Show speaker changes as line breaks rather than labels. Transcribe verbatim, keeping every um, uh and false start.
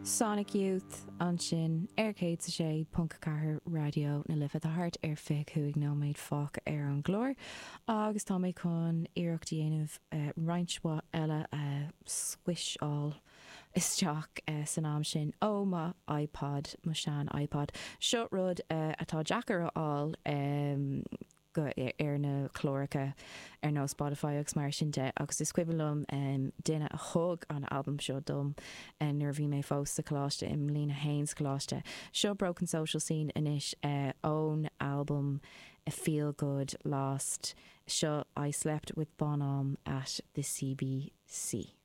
Sonic Youth ansin ar céad a sé ponc ceathair Raidió na Life tá thart ar fiche cúig nóiméad fágtha ar an gclár agus tá mé chun iarracht a dhéanamh uh, roinnt mhaith eile a uh, squisháil isteach uh, san am sin ó mo iPod mo sean iPod. Seo rud uh, atá deacair a fháil um, go ar na cláracha ar nó Spotify agus mar sin de agus is cuimhin liom um, duine a thug an album seo dom uh, nuair bhí mé fós sa choláiste i mbliain a haon sa choláiste. Seo Broken Social Scene anois uh, ón album a Feel Good Lost seo I Slept with Bonhomme at the CBC.